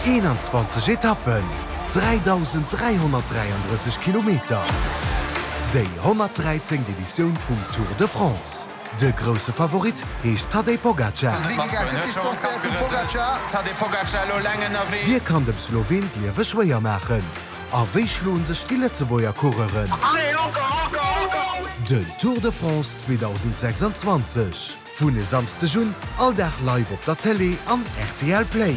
21 Etappen, 3.333 Kilometer, déi 113. Editioun vum Tour de France. De grousse Favorit heescht Tadej Pogacar. Wie kann dem Sloween d'Liewe schwéier maachen? A wéi schloen sech déi Lëtzebuerger Coureuren? Den Tour de France 2026 vun e Samsdeg un all Dag live op der Télé an rtl Play.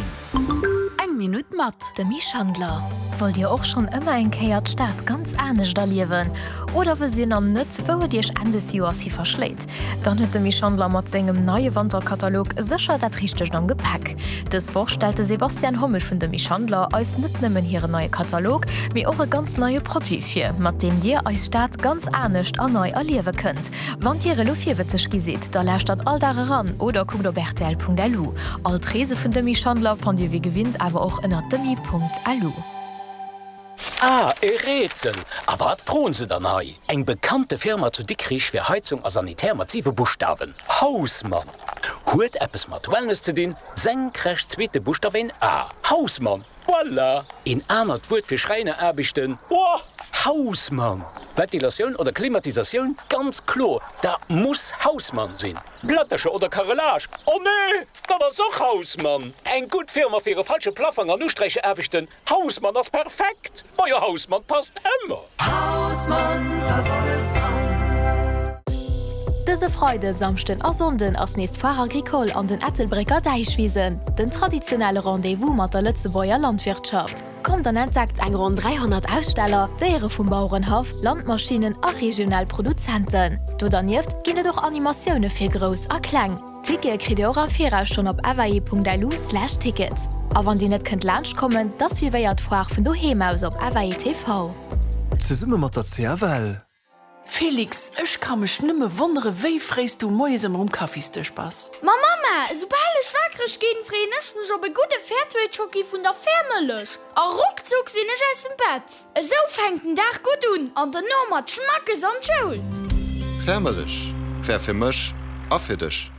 Eng Minutt mat Demy Schandler. Wollt Dir och schonn ëmmer eng Kéier d'Stad ganz anescht erliewen? Oder wësst Dir nach net, wou et Iech Enn des Joers hi verschléit? Dann huet de Misch Schandler mat sengem neie Wanterkatalog sécher dat Richtegt am Gepäck. Dës Woch stellt de Sebastian Hommel vun Demy Schandler eis net nëmmen hiren neie Katalog, mee och e ganz neie Produit vir, mat deem Dir eis Stad ganz anescht a nei erliewe kënnt. Wann Dir elo virwëtzeg gi sidd, da lauschtert all Dag eran oder kuckt op rtl.lu. All d'Reese vun Demy Schandler fannt Dir wéi gewinnt awer och ënner demy.lu. Ah, e Rätsel! A wat froen se dann hei? Eng bekannte Firma zu Dikrich fir Heizung a Sanitär mat siwe Buschtawen, Hausmann! Huet eppes mat Wellness ze dinn, senkrecht zweete Buschtaf een A, Hausmann! Voilà! Een anert Wuert fir Schräineraarbechten, oh, Hausmann! Ventilatioun oder Klimatisatioun, ganz kloer, dat muss Hausmann sinn! Plättercher oder Carrelage, oh nee, dat ass och Hausmann! Eng gutt Firma fir e falsche Plaffong an Usträicheraarbechten, Hausmann ass perfekt! Majo Hausmann passt ëmmer! Hausmann, t'ass alles dran! Dëse Freiden, Samschden a Sonnden ass nees d'Foire Agricole an den Ettelbrécker Däichwisen, den traditionelle Rendez-vous mat der Lëtzebuerger Landwirtschaft. Kommt an entdeckt eng ronn 300 Aussteller, Déiere vum Bauerenhaff, Landmaschinnen a regional Produzenten. Do dernieft ginn et och Animatioune fir Grouss a Kleng. Tickete kritt Dir och am Viraus schonn op fai.lu/tickets. A wann Dir net kënnt laanscht kommen, da suivéiert d'Foire vun doheem aus op FAI TV. Zesumme mat der CFL. Félix, ech ka mech nëmme wonnere wéi fréis du moies ëmmer um Kaffisdësch bass. Ma Mamma, esoubal ech wakereg ginn, freeën ech mech op e gudde Fairtrade-Schocki vun der Fairmëllech. A ruckzuck sinn ech aus dem Bett. Esou fänkt den Dag gutt un an dono mat Schmackes an d'Schoul. Fair Mëllech, fair fir mech a fir dech.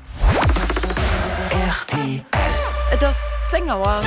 Rtl. Et ass 10 Auer.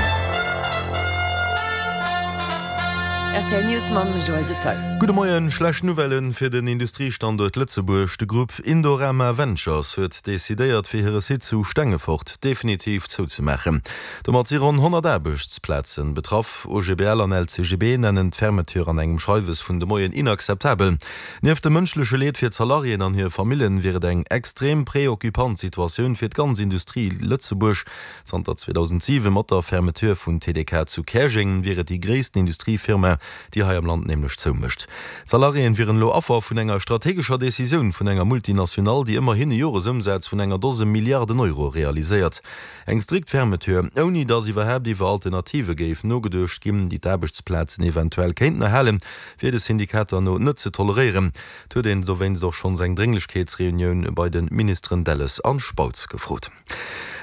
Rtl News mam Joël Detail. Gudde Moien, Schlecht Nouvellen fir den Industriestanduert Lëtzebuerg, De Grupp Indorama Ventures huet decidéiert fir hire Site zu Stengefort definitiv zouzemaachen. Domat si ronn 100 Aarbechtsplazen betraff. OGBL an LCGB nennen d'Fermeture an engem Schreiwes vun de Moien inakzeptabel. Nieft dem mënschleche Leed fir d'Salariéen an hir Famillen wier et eng extrem preoccupant Situatioun fir d'ganz Industrie Lëtzebuerg. Zanter 2007, mat der Fermeture vun TDK zu Käerjeng, wier et déi gréissten Industriefirma, déi hei am Land nämlech zoumécht. D'Salariéen wieren elo Affer vun enger strategescher Decisioun vun enger Multinationale, déi ëmmerhin e Joresëmsaz vun enger Dose Milliarden Euro realiséiert. Eng strikt Fermeture, ouni datt iwwerhaapt iwwer Alternative géif nogeduecht ginn, déi d'Aarbechtsplazen eventuell kéinten erhalen, wier de Syndikater no net ze toleréieren. Et huet een dowéinst och schonns eng Drénglechkeetsreunioun bei de Ministeren Delles an Spautz gefrot.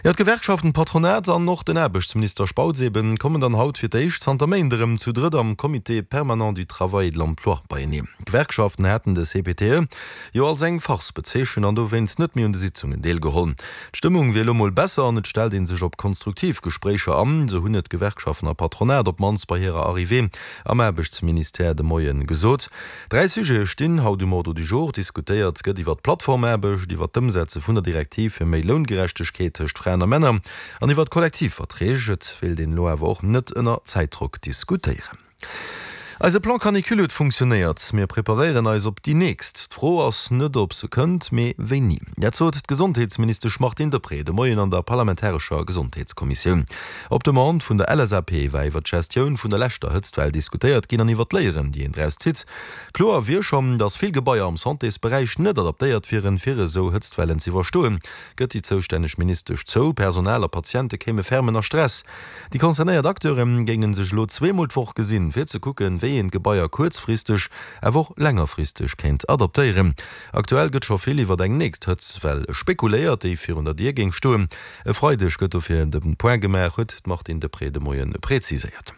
Jo, d'Gewerkschaften, d'Patronat an och den Aarbechtsminister Spautz eben, kommen dann haut fir d'éischt zanter Méint erëm zu drëtt am Comité permanent du travail et de l'emploi beieneen. D'Gewerkschaften haten de CPTE jo als eng Farce bezeechent an dowéinst net méi un de Sitzungen deelgeholl. D'Stëmmung wier elo mol besser an et stellt ee sech op konstruktiv Gespréicher an, sou hunn et d'Gewerkschaften a Patronat op d'mannst bei hirer Arrivée am Aarbechtsministère de Moie gesot. 3 Sujete stinn haut um Ordre du jour, Diskutéiert gëtt iwwer d'Plattformaarbecht, iwwer d'Ëmsetze vun der Direktiv fir méi Loungerechtegkeet tëscht Fraen a Männer an iwwer d'Kollektivverträg. Et wéilt een elo awer och net ënner Zäitdrock diskutéieren. Eise Plan Canicule huet funktionéiert. Mir preparéieren eis op déi nächst. D'Fro ass net, ob se kënnt, mee wéini. Dat sot d'Gesondheetsministesch Martine Deprez de Moien an der parlamentarescher Gesondheetskommissioun. Op Demande vun der LSAP war iwwer d'Gestioun vun der leschter Hëtztwell diskutéiert ginn an iwwer d'Léieren, déi een draus zitt. Kloer wier schonn, datt vill Gebaier am Santésberäich net adaptéiert wieren, fir esou Hëtztwellen z'iwwerstoen, gëtt déi zoustänneg Ministesch zou. Personal a Patiente kéime ferm ënner Stress. Déi concernéiert Acteure géinge sech elo zweemol d'Woch gesinn, fir ze kucken, wéi een d'Gebaier kuerzfristeg, awer och längerfristeg kéint adaptéieren. Aktuell gëtt scho vill iwwer eng nächst Hëtztwell spekuléiert, déi virun der Dier géing stoen. E Freideg gëtt dofir de Point gemaach, huet d'Martine Deprez de Moie preziséiert.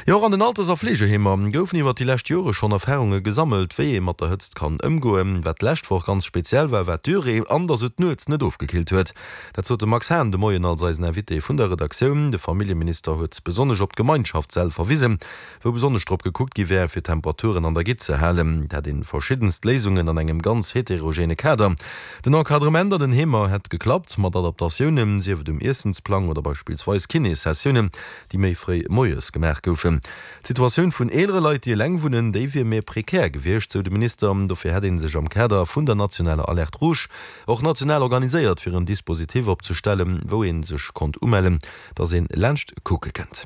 Jo, och an den Alters a Fleegeheemer goufen iwwer déi lescht Jore schonn Erfarunge gesammelt, wéi ee mat der Hëtzt kann ëmgoen. Wat d'lescht Woch ganz speziell war, war d'Durée an datt et nuets net ofgekillt huet. Dat sot de Max Hahn de Moien als eisen Invité vun der Redaktioun. De Familljeminister huet besonnesch op d'Gemeinschaftssäll verwisen, wou besonnesch drop gekuckt gi wär, fir d'Temperaturen an der Gitt ze halen. Dat een verschiddenst Léisungen an engem ganz heterogene Kader. Den Encadrement an den Heemer hätt geklappt, mat Adaptatiounen, sief et um Iessensplang oder beispillsweis Kinéssessiounen, déi méi fréi moies gemaach goufen. D'Situatioun vun eelere Leit, déi eleng wunnen, déi wier méi prekär gewiescht, sou de Minister. Dofir hätt ee sech am Kader vun der nationaler Alerte rouge och national organiséiert, fir en Dispositif opzestellen, wou ee sech konnt umellen, datt ee laanscht kucke kënnt.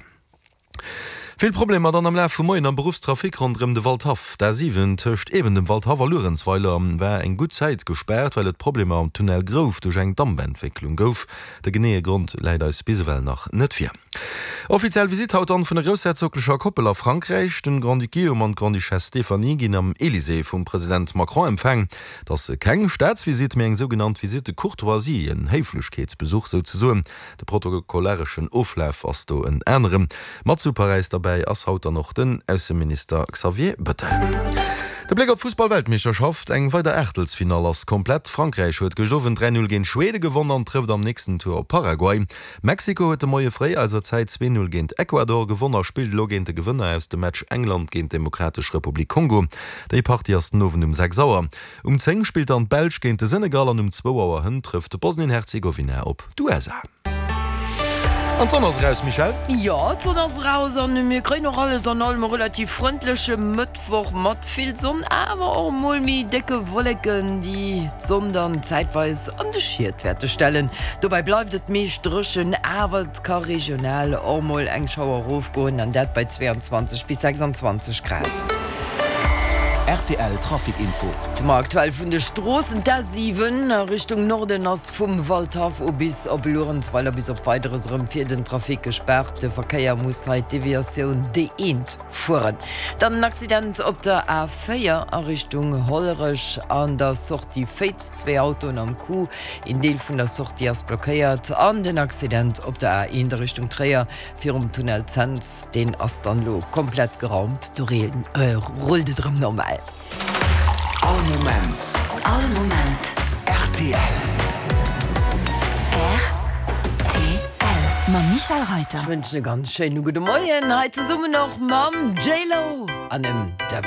Vill Problemer dann am Laf vum Moien am Beruffstrafic ronderëm de Waldhaff. D'A7 tëscht eben dem Waldhaff a Luerenzweiler war eng gutt Zäit gespaart, well et Problemer am Tunnel Grouf duerch eng Dampentwécklung gouf. De geneeë Grond läit eis bis ewell nach net vir. Offiziell Visitt haut dann vun der groussherzoglecher Koppel a Frankräich. Den Grand-Duc Guillaume an d'Grande-Duchesse Stéphanie ginn am Elysée vum President Macron empfaang. Et ass keng Staatsvisitt, mee eng sougenannt Visite de courtoisie, en Héiflechkeetsbesuch souzesoen. De protokollareschen Oflaf ass do en aneren. Mat zu Paräis derbäi ass haut dann och den Ausseminister Xavier Bettel. De Bléck op d'Fussball-Weltmeeschterschaft, Eng weider Aachtelsfinall ass komplett. Frankräich huet gëscht Owend 3, 0 géint Schwede gewonn an trëfft am nächsten Tour op Paraguay. Mexiko huet de Moie fréi eiser Zäit 2, 0 géint Ecuador gewonn a spillt elo géint de Gewënner aus dem Match England géint d'Demokratesch Republik Kongo. Déi Partie ass den Owend um 6 Auer. Um 10 spillt dann d'Belsch géint de Senegal an um zwou Auer hënt trëfft Bosnien-Herzegowina op d'USA. An d'Sonn ass eraus, Michèle? Jo, d'Sonn ass eraus an mir kréien och alles an allem e relativ frëndleche Mëttwoch mat vill Sonn, awer och mol méi décke Wolleken, déi d'Sonn dann zäitweis an de Schiet wäerte stellen. Dobäi bleift et meescht dréchen, awer et ka regional och mol eng Schauer erofgoen, an dat bei 22 bis 26 Grad. Rtl Trafic Info. Ma aktuell vun de Stroossen, D'A7 a Richtung Norden ass vum Waldhaff u bis op Luerenzweiler bis op Weideres erëm fir den Trafic gespaart. De Verkéier muss hei d'Deviatioun D1 fueren. Dann en Accident op der A4 a Richtung Hollerech an der Sortie Féiz, zwee Autoen am Coup, een Deel vun der Sortie ass blockéiert. An den Accident op der A1 a Richtung Tréier Virum Tunnel Cents, deen ass dann elo komplett geraumt, do rullt et erëm normal. All Moment. All Moment. Rtl. Rtl. Mam Michèle Reyter. Ech wënschen e ganz schéine gudde Moien hei zesummen och mam J-Lo an dem David.